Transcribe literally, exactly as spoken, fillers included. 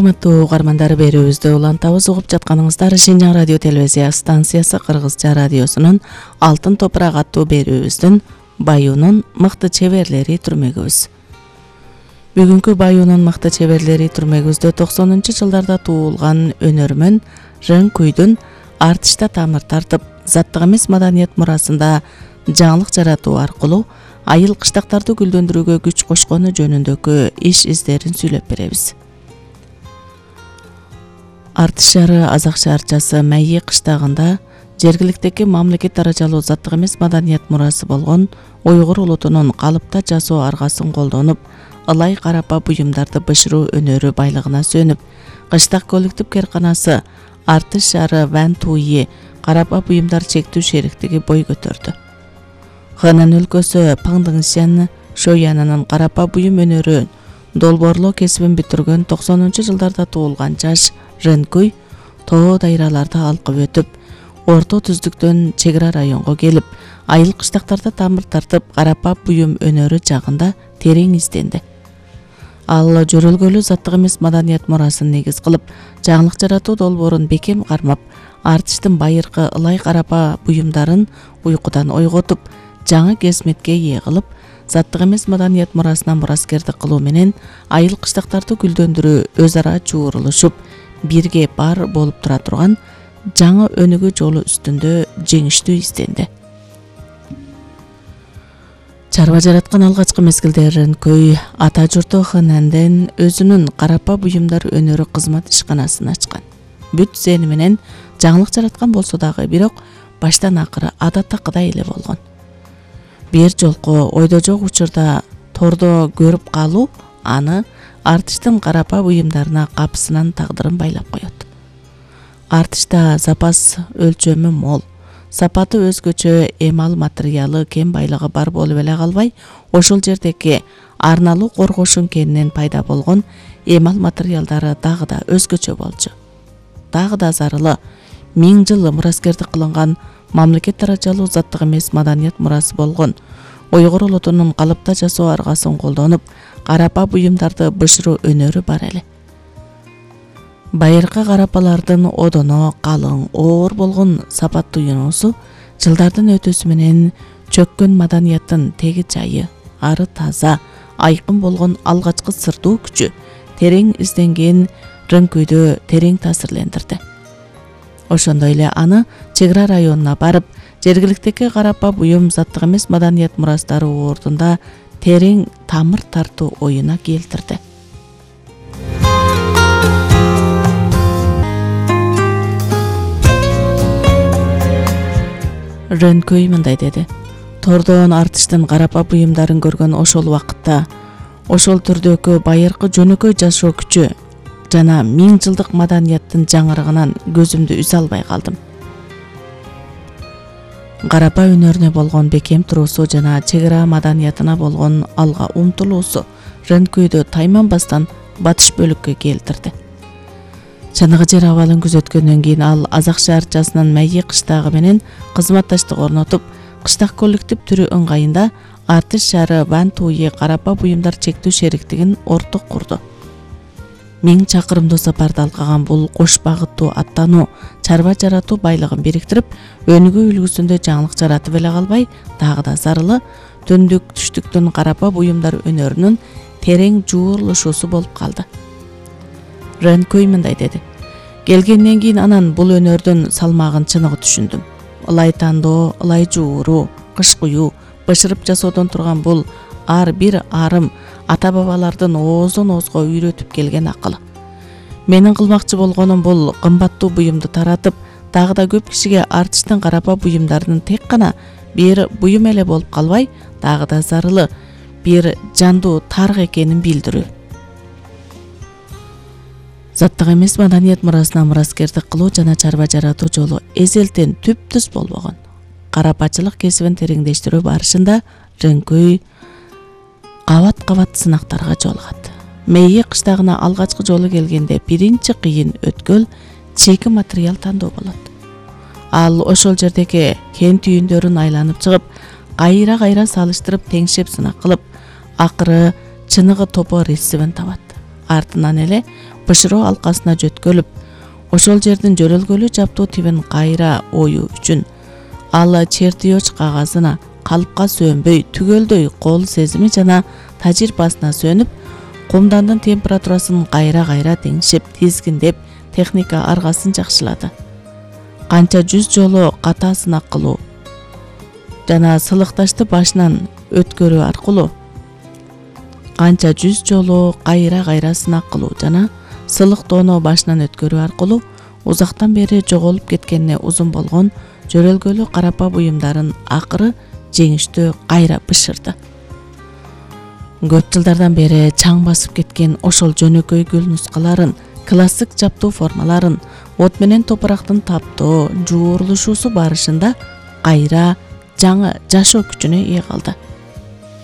Урматтуу угармандар, берүүбүздү улантабыз. Угуп жатканыңыздар Шинжаң радио телевизия станциясы Кыргызча радиосунун Алтын топурак аттуу берүүбүздүн Баюунун мыкты чеберлери түрмөгүбүз. Бүгүнкү Баюунун мыкты чеберлери түрмөгүбүздө токсонунчу жылдарда туулган өнөрмөн Рынкүйдүн артышта тамыр тартып, заттык эмес маданият мурасында жаңылык жаратуу аркылуу айыл кыштактарды гүлдөндүрүүгө күч кошкону жөнүндөгү иш издерин сүйлөп беребиз. Артыш шаары Азак шаарчасы Майи кыштагында жергиликтеги мамлекет даражалуу заттык эмес маданият мурасы болгон уйгур улутунун калыпта жасоо аргасын колдонуп, ылай карапа буюмдарды бышыруу өнөрү байлыгына сөнүп, кыштак коллектив кээрканасы Артыш шаары Ван Туи карапа буюмдар чектүү шериктиги бой көтөрдү. Хэнан өлкөсү Паңдыңшен Шоянынын карапа буюм өнөрү долбоорлоо кесибин бүтүргөн токсонунчу жылдарда туулган жаш Рынкүй тоо дайраларды алкып өтүп, орто түздүктөн чек ара районго келип, айыл кыштактарда тамыр тартып, карапа буюм өнөрү жагында терең изденди. Ал жөрөлгөлүү заттык эмес маданият мурасын негиз кылып, жаңылык жаратуу долбоорун бекем кармап, артыштын байыркы ылай карапа буюмдарын уйкудан ойготуп, жаңы кесметке ээ кылып, заттык эмес маданият мурасына мураскердик кылуу менен айыл кыштактарды гүлдөндүрүү өз ара чуурулушуп, бирге бар болуп тура турган жаңы өнүгүү жолу үстүндө жеңиштүү изденди. Чарба жараткан алгачкы мезгилде Рынкүй ата журту Хэнанден өзүнүн карапа буюмдар өнөрү кызмат ишканасын ачкан. Бүт зени менен жаңылык жараткан болсо дагы, бирок баштан акыры адаттакыдай эле болгон. Бир жолку ойдо жок учурда тордо көрүп калуу аны артыштын карапа буюмдарына капысынан тагдырын байлап коет. Артышта запас өлчөмү мол, сапаты өзгөчө, эмал материалы кем байлыгы бар болуп эле калбай, ошол жердеги арналуу коргошун кенинен пайда болгон эмал материалдары дагы да өзгөчө болчу. Дагы да зарылы миң жыл мураскердик кылынган мамлекет даражалуу заттык эмес маданият мурасы болгон уйгур улутунун калыпта жасоо аргасын колдонуп, карапа буюмдарды бышыруу өнөрү бар эле. Байыркы карапалардын одоно калың, оор болгон сапаттуу юнусу жылдардын өтүүсү менен чөккөн маданияттын теги жайы, ары таза, айкын болгон алгачкы сырдуу күчү терең изденген Рынкүйдү терең таасирлендирди. Ошондой эле аны чек ара районуна барып, жергиликтеги карапа буюм заттык эмес маданият мурастары ордунда терең тамыр тартуу оюна келтирди. Рынкүй мындай деди: Тордон артыштын карапа буюмдарын көргөн ошол убакытта, ошол түрдөгү байыркы жөнөкөй жашоо күчү жана миң жылдык маданияттын жаңырыгынан көзүмдү үзө албай калдым. Карапа өнөрүнө болгон бекем туруусу жана чек ара маданиятына болгон алга умтулуусу Рынкүйдү тайманбастан батыш бөлүккө келтирди. Чыныгы жер абалын күзөткөндөн кийин ал Азак шаарчасынын Майи кыштагы менен кызматташтык орнотуп, кыштак коллектив түрү ыңгайында Артыш шаары Ван Туи карапа буюмдар чектүү шериктигин орток курду. Миң чакырымдуу сапарды алкаган бул кош багыттуу аттануу чарба жаратуу байлыгын бириктирип, өнүгүү үлгүсүндө жаңылык жаратып эле калбай, дагы да зарылы түндүк түштүктүн карапа буюмдар өнөрүнүн терең жуурулушуусу болуп калды. Рынкүй мындай деди: Келгенден кийин анан бул өнөрдүн салмагын чыныгы түшүндүм. Ылай тандоо, ылай жууруу, кыш куюу, бышырып жасоодон турган бул ар бир арым ата-бабалардын оозон оозго үйрөтүп келген акылы. Менин кылмакчы болгонум бул кымбаттуу буюмду таратып, дагы да көп кишиге артыштын карапа буюмдарынын тек гана бир буюм эле болуп калбай, дагы да зарылы бир жандуу тарых экенин билдирүү. Заттык эмес маданият мурасына мураскердик кылуу жана чарба жаратуу жолу эзелтен түп-түз болбогон. Карапачылык кесибин тереңдештирүү барышында Рынкүй кабат-кабат сынактарга жолугат. Майи кыштагына алгачкы жолу келгенде биринчи кыйын өткөл чийки материал тандоо болот. Ал ошол жердеги кен түйүндөрүн айланып чыгып, кайра-кайра салыштырып, теңшеп сынак кылып, акыры чыныгы топо рецептин табат. Артынан эле бышыроо алкасына жөткөлүп, ошол жердин жөрөлгөлүү жаптуу тибин кайра оюу үчүн ал чертеж кагазына калыпка сөнбөй, түгөлдөй кол сезими жана тажрыйбасына сөнүп, кумдандын температурасын кайра-кайра теңшеп, тизгиндеп, техника аргасын жакшылады. Канча жүз жолу ката сынак кылуу жана сылыкташты башынан өткөрүү аркылуу канча жүз жолу кайра-кайра сынак кылуу жана сылыктоону башынан өткөрүү аркылуу узактан бери жоголуп кеткенине узун болгон жөрөлгөлүү карапа буюмдарын акыры жеңиштүү кайра бышырды. Көп жылдардан бери чаң басып кеткен ошол жөнөкөй гүл нускаларын, классик жаптуу формаларын от менен топурактын таптоо, жуурулушуусу барышында кайра жаңы жашоо күчүнө ээ калды.